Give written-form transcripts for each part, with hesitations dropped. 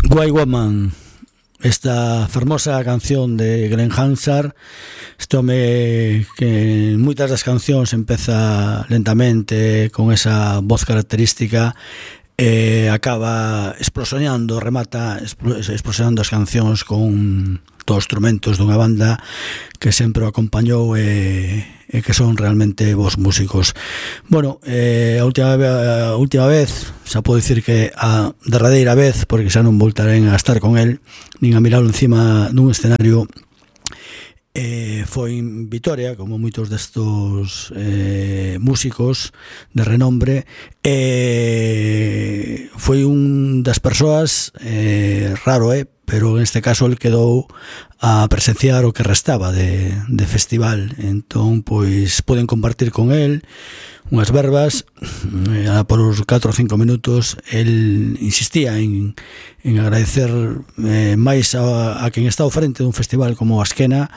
White Woman, esta fermosa canción de Glenn Hansard, este home que en moitas das cancións empeza lentamente con esa voz característica e acaba explosionando, remata explosionando as cancións con todos os instrumentos dunha banda que sempre o acompañou e que son realmente bons músicos. Bueno, a última vez, xa podo dicir que a derradeira vez, porque xa non voltarén a estar con el nin a miralo encima dun escenario, foi en Vitoria, como moitos destos músicos de renombre, foi un das persoas raro, pero en este caso el quedou a presenciar o que restaba de festival. Entón, pois, poden compartir con el unhas verbas. Por os 4 ou 5 minutos el insistía en agradecer máis a quen está ao frente dun festival como Asquena,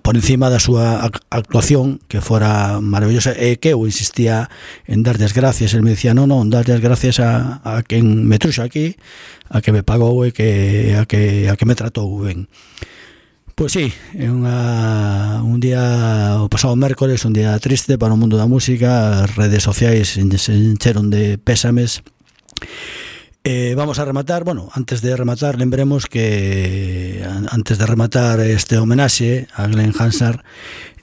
por encima da súa actuación, que fora maravillosa, e que eu insistía en darlle as gracias. El me dicía, non, darlle as gracias a quen me truxo aquí, a que me pagou e a que me tratou ben. Pois sí, é un día, o pasado mércoles, un día triste para o mundo da música. As redes sociais se encheron de pésames. Vamos a rematar, antes de rematar, lembremos que antes de rematar este homenaxe a Glenn Hansard,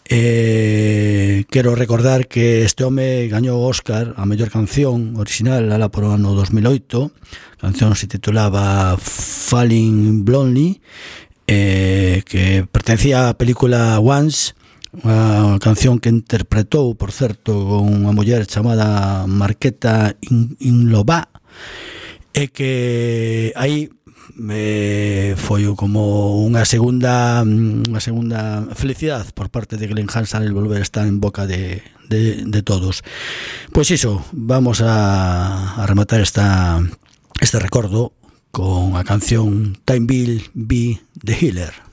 quero recordar que este home gañou o Óscar a mellor canción original alá por o ano 2008. A canción se titulaba Falling Blondly, que pertencía á película Once, unha canción que interpretou, por certo, con unha muller chamada Marketa Inlova, e que aí foi como unha segunda felicidade por parte de Glenn Hansard el volver a estar en boca de todos. Pois iso, vamos a rematar este recordo con a canción Time Will Be the Healer.